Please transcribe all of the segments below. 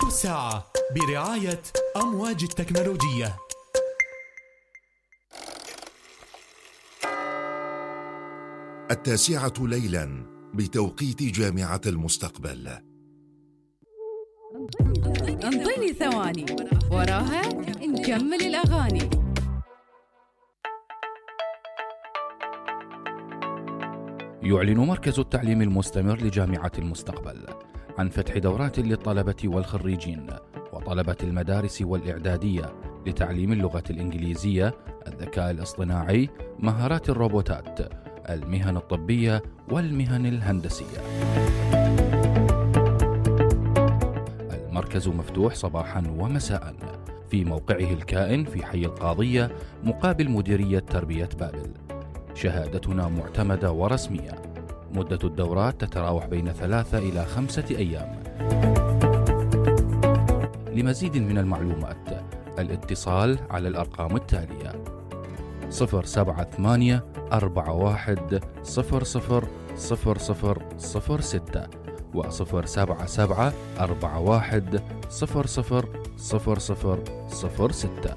أخبار الساعة برعاية أمواج التكنولوجية. 9:00 ليلا بتوقيت جامعة المستقبل. انطيني ثواني وراها نكمل الأغاني. يعلن مركز التعليم المستمر لجامعة المستقبل عن فتح دورات للطلبة والخريجين وطلبة المدارس والإعدادية لتعليم اللغة الإنجليزية، الذكاء الاصطناعي، مهارات الروبوتات، المهن الطبية والمهن الهندسية. المركز مفتوح صباحا ومساء في موقعه الكائن في حي القاضية مقابل مديرية تربية بابل. شهادتنا معتمدة ورسمية. مدة الدورات تتراوح بين 3 إلى 5 أيام. لمزيد من المعلومات الاتصال على الأرقام التالية: 078 41 000006 و 077 41 000006.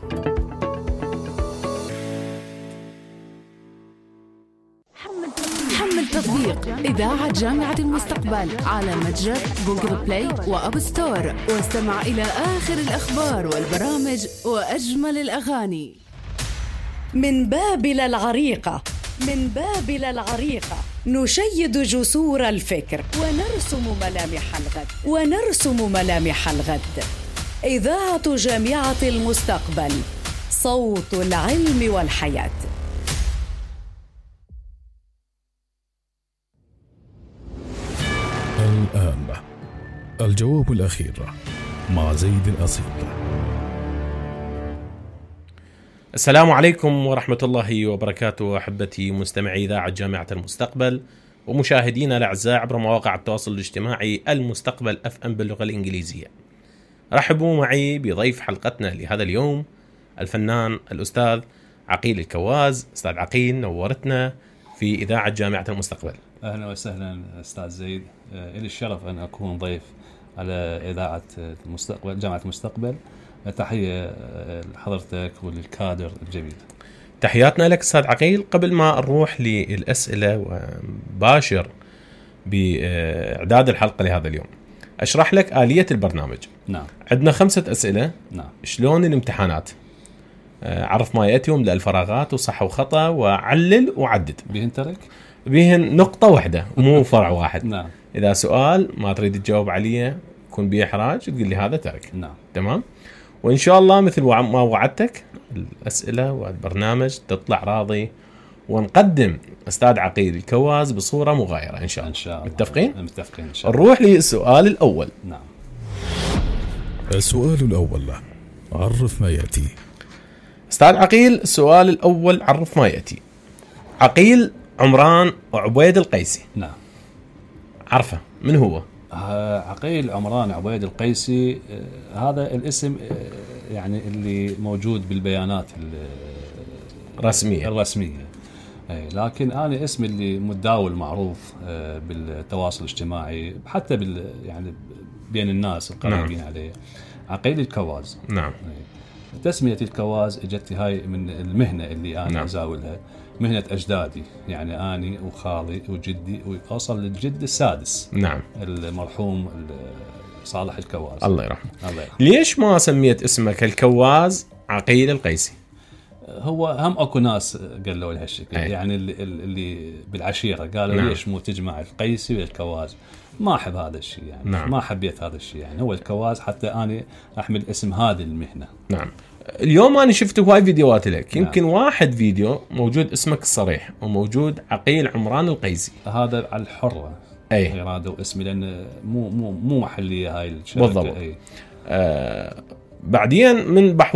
حمل تطبيق إذاعة جامعة المستقبل على متجر جوجل بلاي وأب ستور، واستمع إلى آخر الأخبار والبرامج وأجمل الأغاني. من بابل العريقة، من بابل العريقة نشيد جسور الفكر ونرسم ملامح الغد، ونرسم ملامح الغد. إذاعة جامعة المستقبل، صوت العلم والحياة. الآن الجواب الأخير مع زيد الأصيل. السلام عليكم ورحمة الله وبركاته، أحبتي مستمعي إذاعة جامعة المستقبل ومشاهدينا الأعزاء عبر مواقع التواصل الاجتماعي المستقبل FM باللغة الإنجليزية. رحبوا معي بضيف حلقتنا لهذا اليوم الفنان الأستاذ عقيل الكواز. أستاذ عقيل، نورتنا في إذاعة جامعة المستقبل. أهلا وسهلا أستاذ زيد، إلي الشرف أن أكون ضيف على إذاعة المستقبل جامعة المستقبل. تحية لحضرتك وللكادر الجميل. تحياتنا لك أستاذ عقيل. قبل ما نروح للأسئلة وباشر بإعداد الحلقة لهذا اليوم، أشرح لك آلية البرنامج. نعم. عندنا 5 أسئلة. نعم. شلون الامتحانات؟ عرف ما يأتي واملأ الفراغات وصح وخطأ وعلل وعدد. بهن ترك؟ بهن نقطة واحدة مو فرع واحد. نعم. إذا سؤال ما تريد تجاوب عليه يكون به إحراج تقول لي هذا ترك. نعم. تمام. وإن شاء الله مثل ما وعدتك الأسئلة والبرنامج تطلع راضي ونقدم أستاذ عقيل الكواز بصورة مغايرة إن شاء الله. إن شاء الله. متفقين؟ متفقين إن شاء الله. نروح للسؤال الأول. نعم. السؤال الأول، عرف ما يأتي. أستاذ عقيل، السؤال الأول عرف ما يأتي. عقيل عمران عبيد القيسي. نعم. عرفه من هو؟ عقيل عمران عبيد القيسي، هذا الاسم يعني اللي موجود بالبيانات الرسمية. لكن أنا اسمي اللي متداول معروف بالتواصل الاجتماعي حتى يعني بين الناس القريبين. نعم. عليه عقيل الكواز. نعم. تسمية الكواز اجت هاي من المهنة اللي أنا. نعم. أزاولها، مهنة أجدادي، يعني أني وخالي وجدي وأوصل للجد السادس. نعم. المرحوم صالح الكواز الله يرحمه. ليش ما سميت اسمك الكواز عقيل القيسي؟ هو هم أكو ناس قالوا لي هالشكل. يعني اللي بالعشيرة قالوا. نعم. ليش مو تجمع القيسي والكواز؟ ما أحب هذا الشيء يعني. نعم. ما حبيت هذا الشيء يعني. هو الكواز حتى أنا أحمل اسم هذه المهنة. نعم. اليوم أنا شفت هواي فيديوهات لك. يمكن. نعم. واحد فيديو موجود اسمك الصريح وموجود عقيل عمران القيسي. هذا على الحرة. أي. يرادوا اسمي لأن مو محلية هاي الشركة. بالضبط. بعدين من